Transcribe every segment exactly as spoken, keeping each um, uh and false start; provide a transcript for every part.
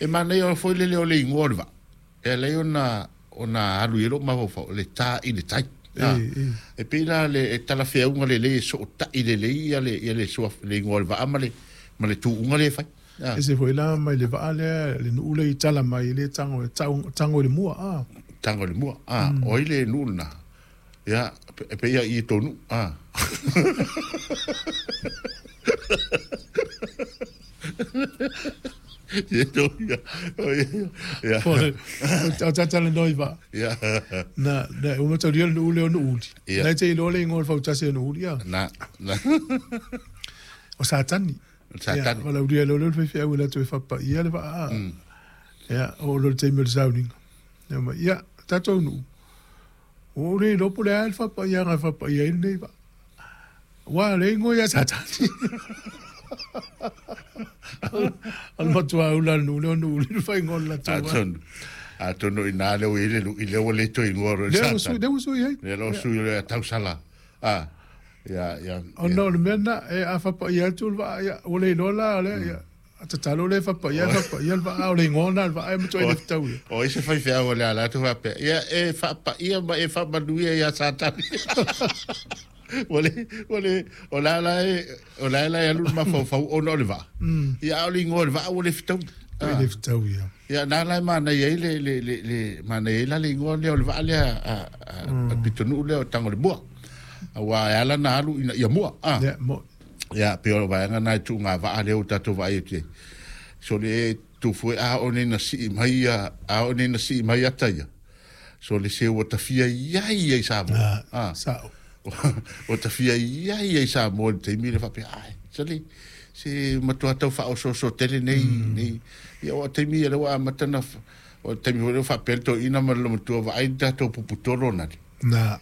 E manaia foi lele o le igoa o le vaa e ala ai ona ona alu i ai lou mafaufau le ta i le tai. E e E pei la le e talafeauga lelei e sootai lelei ia le ia le suafa le igoa o le vaa ma le ma le tuuga lea e fai. E se foi la mai le vaa lea le nuu le i tala mai le tago tago i le mua a. Tago i le mua a o ai le nuu lena ia e pei ia i tonu a. Ia ia ia o tatalanoa i vaa. Ia. Na na uma taulia le nuu lea o Nuuuli. Ia. Na te iloa le igoa o le fautasi o Nuuli ia. Na na. O Satani. Satani. Ia, o laulia lea o le faifeau e latou e faapaia le vaa. Ia, o lo le taimi o le sauniga. Ia ma ia, tatou nuu. Ua ou le iloa po o le a le faapaiaga e faapaia ai lenei vaa. Ua le igoa ia Satani. O le matua ula le nuu lea o Nuuli le faaigoa o le latou vaa. Atonu. Atonu i nā lea ua i ai le lui lea ua le toe igoa loa i le Lea ua sui, Satani. lea ua sui ai. Lea la ua sui loa ia tausala. Ah. Ia ia. Ona o le mea lena, e a faapaia atu le vaa, ia, ua le iloa la lea, ia, tatalo lea faapaia, faapaia le vaa, o le igoa lena o le vaa e matuai le fetau ia. O ai se faifeau o le ala atu faapea, ia e faapaia ma e faamanuia ia Satani. Ua le, ua le, o la la e, o la la e alu le mafaufau ona o le vaa. Ia a o le igoa o le vaa ua le fetaui. E le fetau ia. Ia na la e manaia ai le, le, le, le, manaia ai la le igoa lea o le vaa lea a, a, a pitonuu lea o Tagolemua. Aua e ala na alu ina ia mua. Ah. Ia, mo. Ia, pe o le vaega na e tuuga vaa lea ua tatou vaai atu ai. So le tufu e a o nei na sii mai ia, a o nei na sii mai ata ia. So le se ua tafia iai ia i Samoa. Ah, sao. Ua tafia iai ia i Samoa i le taimi le faapea, ai, sali, se matua tau faaosooso tele nei, nei. Ia o taimi ia le ua amata na, o taimi foi lea ua faapea le toeaina ma le matua vaai le tatou puputolo na le. Na.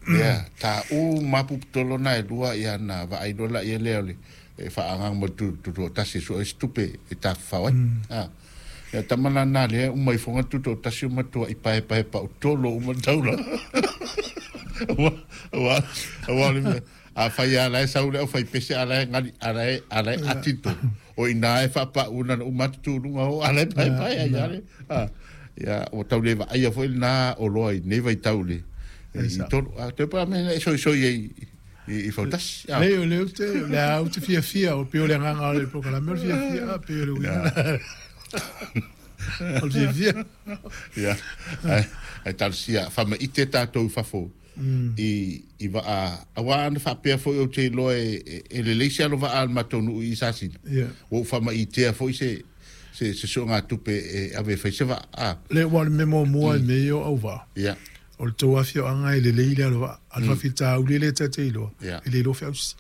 Ia, ta u ma puputolo na e lua ia na vaai loa la ia lea o le e faaagaga mo le tutoatasi e sue ai se tupe e tafafao ai. Ah. Ia tama la na lea uma ifoga tutoatasi o matua i paepaepa o tolo uma le taulaga. Ua, ua, ua o le mea. A fai a la e sau le au fai pese a la e ngali, a la e, a la e ati tolu. O ina e faapau na na uma atu tuluga o a la e paepae ai a le. Ah. Ia, ua tau le vaaia foi lena oloa i nei vaitau le i tolu. A toe pa mea e soisoi ai i, i fautasi. Ah. Le o le te, le au te fiafia, o pe o le agaga o le polokalame o le fiafia, a pe o le uiga. O le fiafia. Ia, ai, ai talosia, faamaite tatou i fafo i, i vaa, aua ana faapea foi ou te iloa e, e, e lelei se alo vaa a le matou nuu i Sasina. Ia. Ua ou faamaitea foi se, se, se suegatupe e ave e fai se vaa. Ah. Le ua o le mea muamua i mea ia o auvaa. Ia. O le tou afioaga e lelei le alo vaa. A le faafitauli lea ta te iloa, Ia. e le iloa feausi.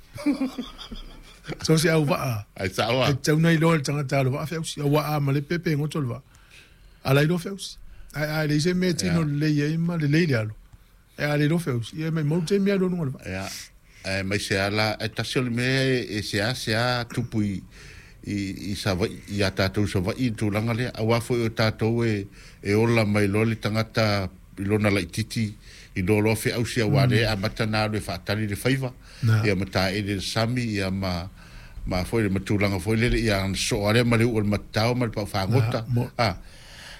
So se auvaa. Ai sao E a. tatau na iloa e le tagata alo vaa feausi. Aua a ma le pepe e goto le vaa. A la iloa feausi. Ai ai leai se mea e tino lelei ai ma lelei le alo. E a le iloa feausi. Ia mai mau taimi alu aluga o le vaa. Ia. E mai se ala, e tasi o le mea e, e sea sea tupu i, i, i Savaii, ia tatou Savaii i le tulaga lea. Aua foi o tatou e, e ola mai loa le tagata i lona laitiiti i loa loa feausi aua lea e amata na alu e faatali le faiva. Na. Ia ma taele le sami, ia ma, ma foi le matulaga foi lele, ia ana soa lea ma le uu o le matatao ma le paufagota. Na, mo. Ah.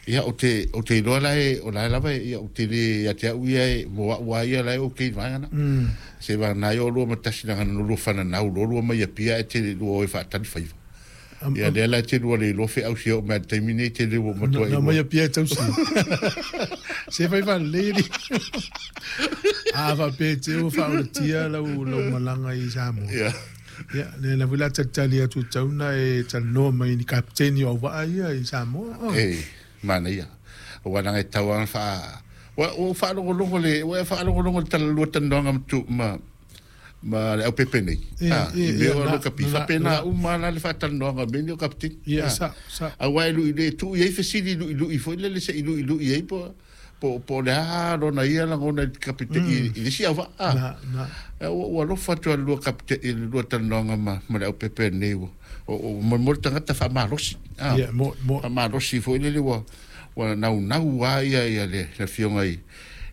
Ia, o te, o te iloa la e, o la e lava e, ia, o te le ia te au ia e, mo au a ia la e o kei vaega na. Mm. Se vagana ai o lua ma tasi na ngana no lua whananau, lo lua mai a pia e te lua o e whaatali faiva. Am- Ia, lea la e te lua le iloa feausi o mea taimi nei te le ua matua Na i mai lua. a pia e tausi. Se fai faalelei li. A faapea te ua faaulatia lau lau malaga i Samoa. Ia. Ia, lea la foi la talitali atu tatau na e talanoa mai ni kapiteni o auvaa ia i Samoa. Oh. E, manaia. Ua nanga e tau anga wha... Ua, ua whaalogologo le, ua whaalogologo le talalua tanoanga ma tu, ma, ma le au pepe nei. E, Ah, e, i mea e, o na- lo kapi. na- Whapena na- uma la le whaatalanoanga me ni o kapiteni. Ia, Ah. sa, sa. Aua e lui le tu i ai fesili lui lui foi lele se i lui lui ai po po po le a lona ia lagona i le kapite i i le isi auvaa. Ah. Na, na. E, ua ua alofa atu a le lua kapite i le lua talanoaga ma ma le aupepe nei ua o o mo le tagata faamalosi. Ah. Ia, mo, mo. Faamalosi foi lele ua ua naunau a ia ia le le afioga i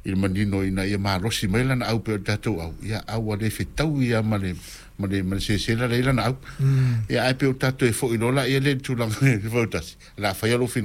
i le manino ina ia malosi mai lana au pe o le tatou au ia au ua le fetau ia ma le ma le ma le sesela lea i lana au. Mm. Ia ae pe o tatou e fo'i loa laia lea i le tulaga fautasi la faia lou finagalo.